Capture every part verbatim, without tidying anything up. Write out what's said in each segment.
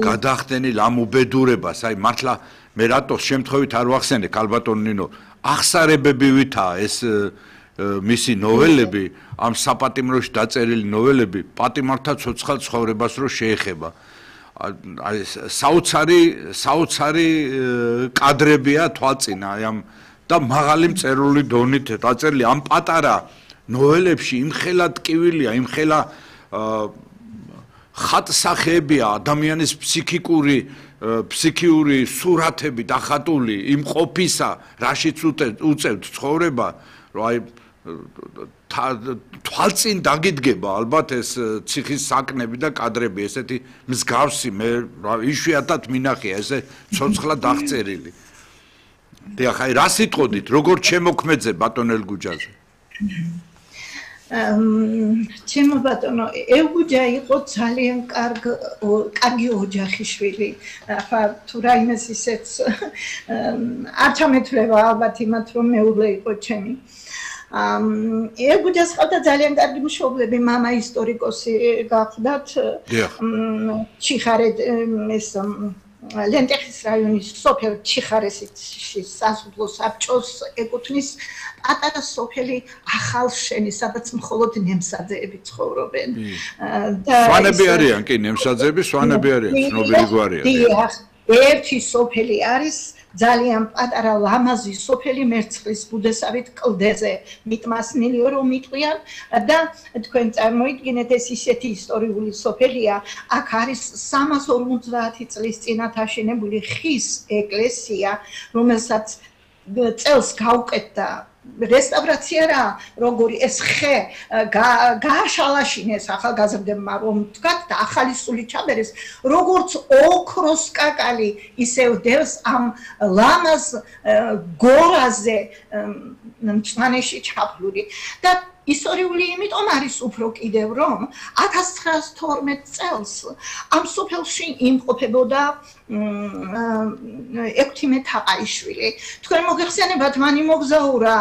გადახდენილ ამ უბედურებას, აი მართლა მე რატო შემთხვევით არ ვახსენე ქალბატონ ნინო, ახსარებებივითაა ეს მისი ნოველები, ამ საპატიმროში დაწერილი ნოველები, პატიმართა ცოცხალ ცხოვრებას რო შეეხება. აი საოცარი საოცარი კადრებია თვალწინა აი ამ და მაღალი მწერლული დონით დაწერილი ამ პატარა ნოველებში იმხელა ტკივილია, იმხელა ხატსახეებია ადამიანის ფსიქიკური ფსიქიური სურათები დახატული იმ ყოფისა, რაშიც უწევთ ცხოვრება, რომ აი თვალწინ დაგიდგება ალბათ ეს ციხის საკნები და კადრები, ესეთი მსგავსი მე იშვიათად მინახია ესე ცოცხლად აღწერილი. დიახ, აი რა სიტყოდით, როგორ ჩემოქმედზე ბატონ ელგუჯაზე? ჩემო ბატონო, ელგუჯა იყო ძალიან კარგი ოჯახიშვილი. ახლა თუ რაიმეს ისეც არ ჩამეთვლება ალბათ იმათ, რომ მეუღლე იყო ჩემი. ელგუჯას ყავდა ძალიან კარგი მშობლები, მამა ისტორიკოსი გახლდათ, ჩიხარედ ეს ლენტეხის რაიონის სოფელ ჩიხარესში სასოფლო საბჭოს ეკუთვნის პატარა სოფელი ახალშენი, სადაც მხოლოდ ნემსაძეები ცხოვრობენ. სვანები არიან კი, ნემსაძეები სვანები არიან, ცნობილი გვარია. დიახ, ერთი სოფელი არის ძალიან პატარა ლამაზი სოფელი მერცხლის ბუდესავით კლდეზე, მიტმასნილიო რომ მიტყვიან და თქვენ წარმოიდგინეთ ეს ისეთი ისტორიული სოფელია, აქ არის სამას ორმოცდაათი წლის წინათ აშენებული ხის ეკლესია, რომელსაც წელს გაუკეთდა რესტავრაცია რა, როგორი ეს ხე გააშალაშინეს ახალგაზრდებმა რომ თქვათ და ახალი სული ჩაბერეს, როგორც ოქროს კაკალი ისევ დევს ამ ლამაზ გორაზე მწვანეში ჩაფლული და ისტორიული იმიტომ არის უფრო კიდევ რომ ათას ცხრაას თორმეტ წელს ამ სოფელში იმყოფებოდა ექვთიმე თაყაიშვილი. თქვენ მოგეხსენებათ მან იმოგზაურა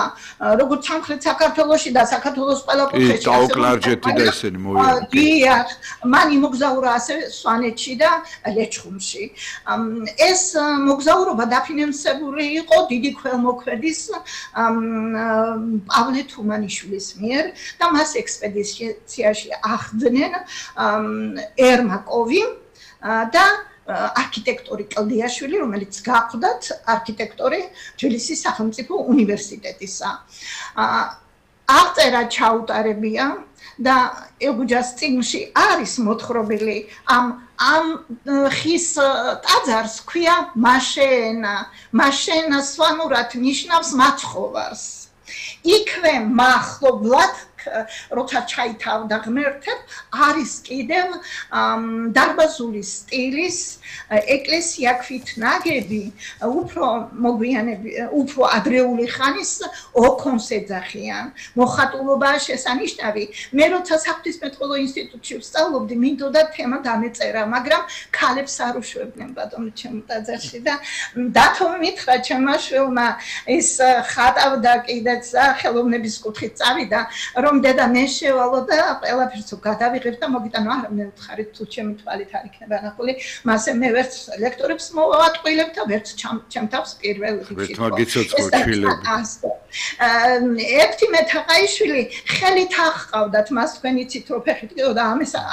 როგორც სამხრეთ საქართველოში და საქართველოს ყველა კუთხეში. დაოკლარჯეთი და ესენი მოვიდა. დიახ, მან იმოგზაურა ასევე სვანეთში და ლეჩხუმში. ეს მოგზაურობა დაფინანსებული იყო დიდი ქველმოქმედის პავლე თუმანიშვილის მიერ და მას ექსპედიციაში ახდნენ ერმაკოვი და არქიტექტორი კლდიაშვილი, რომელიც გახვდათ არქიტექტორი თბილისის სახელმწიფო უნივერსიტეტისა. აღწერა ჩაუტარებია და ელგუჯას წიგნში არის მოთხრობილი ამ ამ ხის ტაძარს ქვია მაშენა. მაშენა სვანურად ნიშნავს მაცხოვარს. იქვე მახლობლად როცა ჩაითავდა ღმერთებ არის კიდევ დარბაზული სტილის ეკლესია ქვით ნაგები, უფრო მოგვიანები, უფრო ადრეული ხანის ოქონს ეძახიან. მოხატულობაა შესანიშნავი. მე როცა საღვთისმეტყველო ინსტიტუტში ვსწავლობდი, მინდოდა თემა დამეწერა, მაგრამ ქალებს არ უშვებდნენ ბატონო ჩემ ტაძარში და დათო მითხრა ჩემმა შვილმა ის ხატავდა კიდეც ხელოვნების კუთხით წავიდა, რომ დედა მე შევალო და ყველაფერს გადავიღებ და მოგიტანო, არა მე ვთხარით თუ ჩემი თვალით არ იქნება ნახული, მასე მე ვერც ლექტორებს მოვატყვილებ და ვერც ჩემ თავს პირველ რიგში. ექვთიმე თაყაიშვილი ხელით აღყავდათ, მას თქვენ იცით რომ ფეხით ყიდოდა,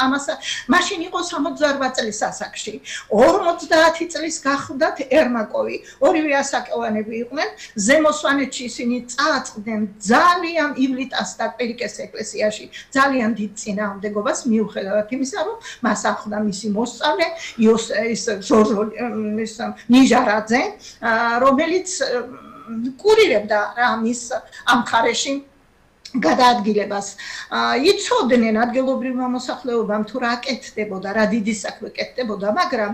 ამას მაშინ იყო სამოცდაორბა წლის ასაკში. ორმოცდაათი წლის გახვდათ ერმაკოვი, ორივე ასაკოვანები იყვნენ, ზემო სვანეთში ისინი წააწყდნენ ძალიან ივლიტას და კვირიკეს ეკლესიაში ძალიან დიდ წინააღმდეგობას მიუხედავად იმისა, რომ მას ახლდა მისი მოსწავლე ნიჟარაძე, რომელიც კურირებდა რა მის ამ მხარეში გადაადგილებას. იცოდნენ ადგილობრივმა მოსახლეობამ თუ რა კეთდებოდა, რა დიდი საქმე კეთდებოდა, მაგრამ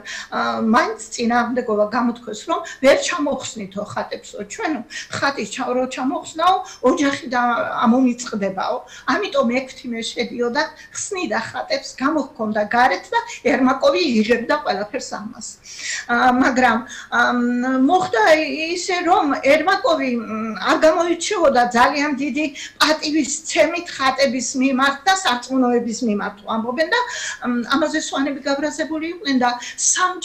მაინც წინააღმდეგობა გამოთქვეს, რომ ვერ ჩამოხსნითო ხატებსო, ჩვენო ხატის რო ჩამოხსნაო, ოჯახი და ამომიწყდებაო. ამიტომ ექვთიმე შედიოდა, ხსნიდა ხატებს, გამოჰქონდა გარეთ და ერმაკოვი იღებდა ყველაფერს ამას. მაგრამ მოხდა ისე, რომ ერმაკოვი არ გამოირჩეოდა ძალიან დიდი პატივით ცემით ხატების მიმართ და სარწმუნოების მიმართ ამბობენ და ამაზე სვანები გაბრაზებული იყვნენ და სამჯერ